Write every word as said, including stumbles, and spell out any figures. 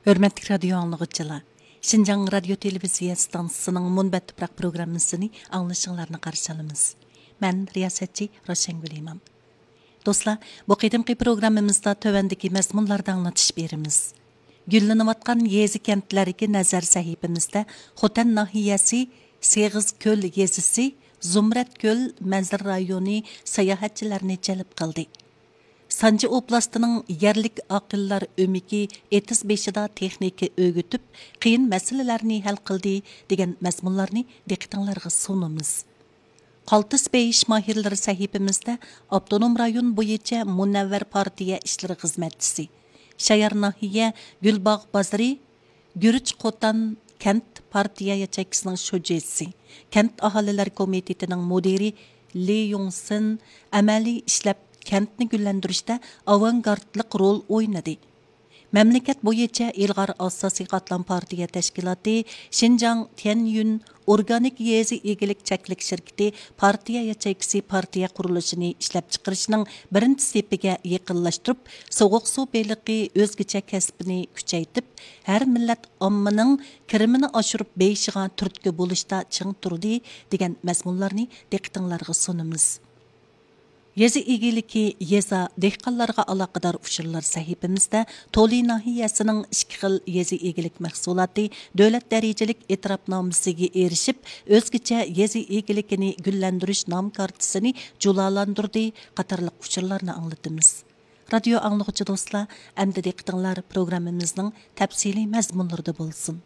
ھۆرمەتلىك رادىيو ئاڭلىغۇچىلار، شىنجاڭ رادىيو تېلېۋىزىيە ئىستانسىسىنىڭ مۇنبەت تۇپراق پروگراممىسىنى ئاڭلىشىڭلارنى قارشى ئالىمىز. مەن رىياسەتچى روشەنگۈل ئىمام. دوستلار، بۇ قېتىمقى پروگراممىمىزدا تۆۋەندىكى مەزمۇنلاردا ئاڭلىتىش بېرىمىز. گۈللىنىۋاتقان يېزا كەنتلەرگە نەزەر سەھىپىمىزدە خوتەن ناھىيەسى سېغىزكۆل يېزىسى، زۇمرەتكۆل مەنزىرە رايونى ساياھەتچىلەرنى جەلپ قىلدى. سانجى ئوبلاستىنىڭ يەرلىك ئاقىللار ئۆمىكى ئېتىز بېشىدا تېخنىكا ئۆگىتىپ، قىيىن مەسىلىلەرنى ھەل قىلدى، دېگەن مەزمۇنلارنى دىققىتىڭلارغا سۇنىمىز. قالتىس بېيىش ماھىرلىرى سەھىپىمىزدە ئاپتونوم رايون بويىچە مۇنەۋۋەر پارتىيە ئىشلىرى خىزمەتچىسى، شايار ناھىيە گۈلباغ بازىرى گۈرۈچ قوتان كەنت پارتىيە ياچېيكىسىنىڭ شۇجىسى، كەنت ئاھالىلەر كومىتېتىنىڭ مۇدىرى لى يۇڭسىن ئەمەلىي ئىشلەپ، كەنتنى گۈللەندۈرۈشتە ئاۋانگارتلىق رول ئوينىدى. مەملىكەت بويىچە ئىلغار ئاساسىي قاتلام پارتىيە تەشكىلاتى شىنجاڭ تيەنيۈن ئورگانىك يېزا ئىگىلىك چەكلىك شىركىتى پارتىيە ياچېيكىسى پارتىيە قۇرۇلۇشىنى ئىشلەپچىقىرىشنىڭ بىرىنچى سېپىگە يېقىنلاشتۇرۇپ، سوغۇق سۇ بېلىقى ئۆزگىچە كەسپىنى كۈچەيتىپ، ھەر مىللەت ئاممىنىڭ كىرىمىنى ئاشۇرۇپ بېيىشىغا تۈرتكە بولۇشتا چىڭ تۇردى، دېگەن مەزمۇنلارنى دىققىتىڭلارغا سۇنىمىز. يېزا ئىگىلىكى، يېزا، دېھقانلارغا ئالاقىدار ئۇچۇرلار سەھىپىمىزدە تولى ناھىيەسىنىڭ ئىككى خىل يېزا ئىگىلىك مەھسۇلاتى دۆلەت دەرىجىلىك ئېتىراپنامىسىگە ئېرىشىپ، ئۆزگىچە يېزا ئىگىلىكىنى گۈللەندۈرۈش نام كارتىسىنى جۇلالاندۇردى قاتارلىق ئۇچۇرلارنى ئاڭلىتىمىز. رادىيو ئاڭلىغۇچى دوستلار، ئەمدى دىققىتىڭلار پروگراممىمىزنىڭ تەپسىلىي مەزمۇنلىرىدا بولسۇن.